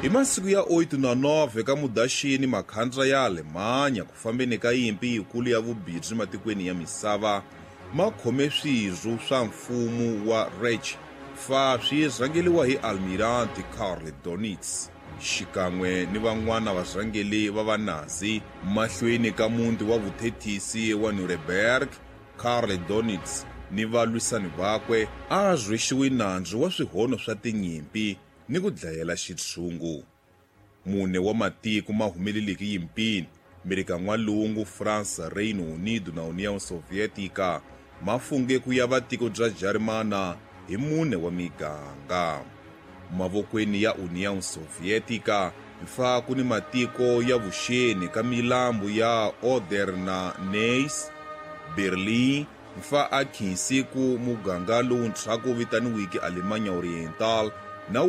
Hi masiku ya 8 na 9 ka Mudaxini makhandla ya Alemanya ku fambeni ka yimpi yikulu ya vubirhi matikweni ya misava ma khome swirho swa mfumo wa Reich fa swi rhangeliwa hi Almirante Karl Donitz xikan'we ni van'wana varhangeli va Vanazi mahlweni ka muti wa vuthethisi wa Nuremberg. Karl Donitz ni valwisani vakwe a rhwexiwe nandzu wa swihono swa tinyimpi ni ku dlayela xitshungu. Mune wa matiko ma humeleleke yimpini, Merika N'walungu, Fransa, Reino Unido na União Soviética, ma funge ku yava tiko bya Jarimana hi mune wa miganga. Mavokweni ya União Soviética fa ku ni matiko ya vuxeni ka milambu ya Oder na Neisse, Berlin, mfa a khinsi ku muganga lowuntshwa ku vitaniwiki Alemanha Oriental.